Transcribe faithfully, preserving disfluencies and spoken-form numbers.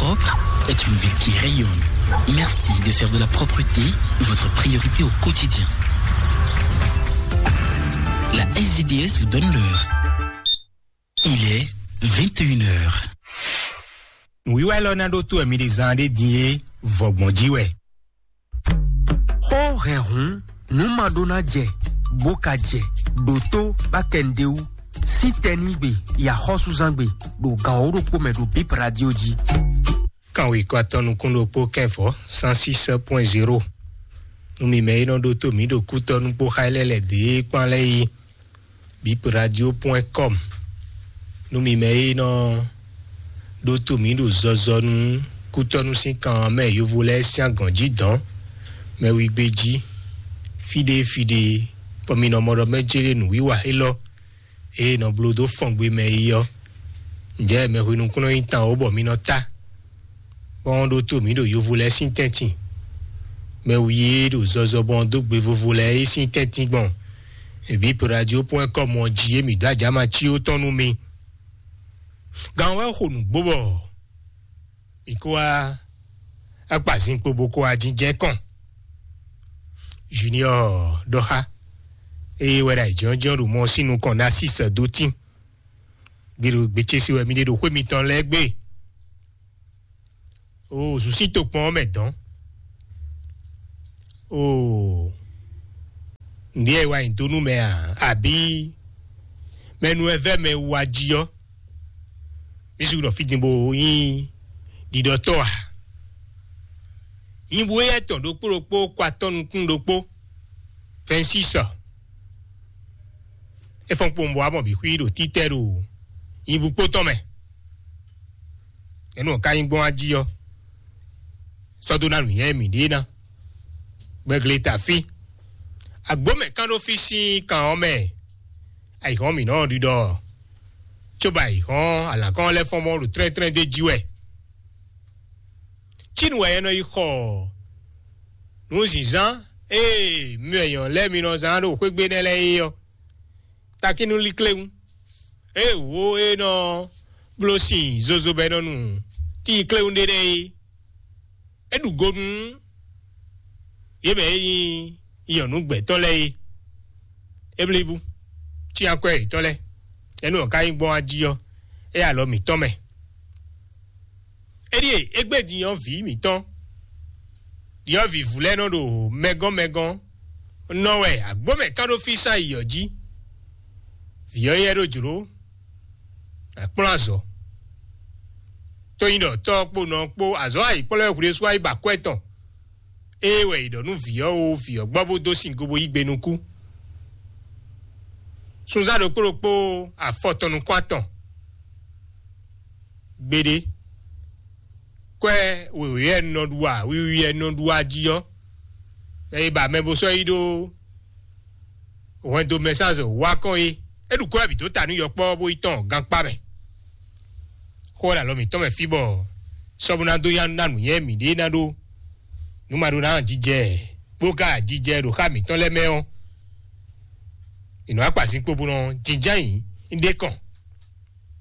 Propre est une ville qui rayonne. Merci de faire de la propreté votre priorité au quotidien. La S D D S vous donne l'heure. Il est vingt et une heures. Wíwá élɔ́ ná ɖó tó ɛmí ɖé zán ɖé din é, vɔgbɔn jí wɛ. Xó hɛn hǔn, nǔ ma ɖó ná jɛ, bó ka jɛ, ɖo tó bá kɛ nǔɖé wú. Sín tɛnígbe, yi axɔ́súzángbe, ɖo gan wǒ ɖokpó mɛ ɖo Bip Radio jí. Kan wěkwatɔ́ nukún ɖokpó kɛ́nfɔ́ cent six point zéro. Nú mi mɛ e nɔ ɖótó mǐ ɖo kútɔ́ nú kpó xá lɛ́ lɛ̌ dě kpán lɛ́ɛ é, bipradio point com. Nú mi mɛ e nɔ ɖótó mǐ ɖo zɔzɔ nú kútɔ́ nú sín kan mɛ yovo lɛ́ɛ sín agɔ̌n jí dɔn mɛ wigbe jí, fíɖée fíɖée, bɔ mi nɔ mɔ ɖɔ mɛ jélé nǔwiwa élɔ́ e nɔ bló dó fɔngbe mɛ é ɔ́, ǹjẹ́ mɛhwenu kún nɔ nyí tan ó bɔ mi nɔ ta, bɔ wọ́n ɖótó mǐ ɖo yovo lɛ́ɛ sín tɛ́ntin, mɛ wi e ɖo zɔzɔ bɔ wọ́n dó gbe vovo lɛ́ɛ é sín tɛ́ntin gbɔn bipradio point com ɔ́ jí é mǐ dó ajǎma cí ó tɔn nú mi. Gan wɛ xo nǔgbó bɔ mi kó wá akpazinkpo bó kó wá jínjɛ́n kɔn. Junior ɖɔ xá eye wɛ ɖo ayǐjínjɔ́n ɖo mɔ sín nukɔn ná sísɛ dó tín. Gbe ɖo gbe ce se wɛ mi ɖe ɖo xwé mitɔn lɛ́ɛ gbe. O zǔsí tokpɔn ɔ́ mɛ dɔn. O ǹdí ɛ wa nyi dó nú mɛ a, àbí mɛnu ɛ vɛ mɛ wa jí ɔ́? Mísú ɖɔ fí din bo nyí ɖiɖɔtɔ́ a? Nyibú éyɛ́ tɔn ɖokpó ɖokpó kɔ atɔ́ nukún ɖokpó, vingt-six. É fɔ́n kpowun bɔ wá mɔ bǐ xwí ɖo títɛ́ ɖo nyibú kpó tɔn mɛ. Ɛnu ɔ́ ka nyí gbɔn ají ɔ́, sɔ́ dó ná nǔnywɛ́ mǐɖée ná. Gbɛgle ta fí. Agbǒ mɛ kán ɖó fí sín kan ɔ́ mɛ. Ayǐhɔ́n mǐnɔ ɖiɖɔ, cóbɔ ayǐhɔ́n alǎkɔ́n lɛ́ɛ fɔ́n mɔ ɖo tlɛ́ntlɛ́n d'é jí wɛ. Cínu wɛ é nɔ yi xɔ nǔzǐnzán e mɛ nyɔ̌nu lɛ́ɛ mi nɔ zán ɖo xwégbé nɛ́ lɛ́ɛ é ɔ́. Takínnú líkléwún, ée wǒ é nɔ bló sin zozo bɔ é nɔ nu tíi kléwún ɖé nɛ́ é. É ɖu go nú yě mɛ e nyí nyɔ̌nu gbɛ̌tɔ́ lɛ́ɛ é. Éblíbú, cyán kwɛ́ yětɔn lɛ́ɛ, ɛnú ɔ́ ka nyí gbɔn ají ɔ́, é alɔ mǐtɔn mɛ. Éɖíe égbé din ɔ́ vǐ mǐtɔn, ɖyɔ̌vǐvú lɛ́ɛ nɔ ɖo mɛgɔ́n mɛgɔ́n nɔ wɛ agbǒ mɛ kán ɖó fí sán yi ɔ́ jí. Vǐ ɔ́ yɛ ɖó jlǒ, akplɔ́n azɔ̌. Tó nyí ɖɔ tɔ́ ɔ́ kpó nɔ ɔ́ kpó azɔ̌ ayǐkplɔ́n wɛ hwlé sú wá yi ba kwɛ́ tɔn. Ée wɛ è ɖɔ nú vǐ ɔ́ o, vǐ ɔ́ gbɔ bó dó sin go bó yí gbe nukún. Sunzán ɖokpó ɖokpó afɔ tɔn nukún atɔn. Gbeɖé. Kwɛ́ wěwé wɛ nɔ ɖu a, wiwi wɛ nɔ ɖu a jí ɔ́, ɛ yi ba mɛ bó sɔ́ yi ɖó hwɛndo mɛ sán zɔ wá kɔn é. É ɖu kwɛ́ bǐ dó ta nú yɔkpɔ́ bó yi tɔn gankpá mɛ. Xó ɔ́ ɖo alɔ mǐtɔn mɛ fí bɔ sɔ́ bó ná dó nya ná nǔnywɛ́ mǐɖée ná ɖó nú ma ɖó ná jijɛ bó ka jijɛ ɖo xá mǐtɔn lɛ́ɛ mɛ ɔ́, è nɔ wá kpa zinkpo bó nɔ jínján yǐ ɖé kɔn.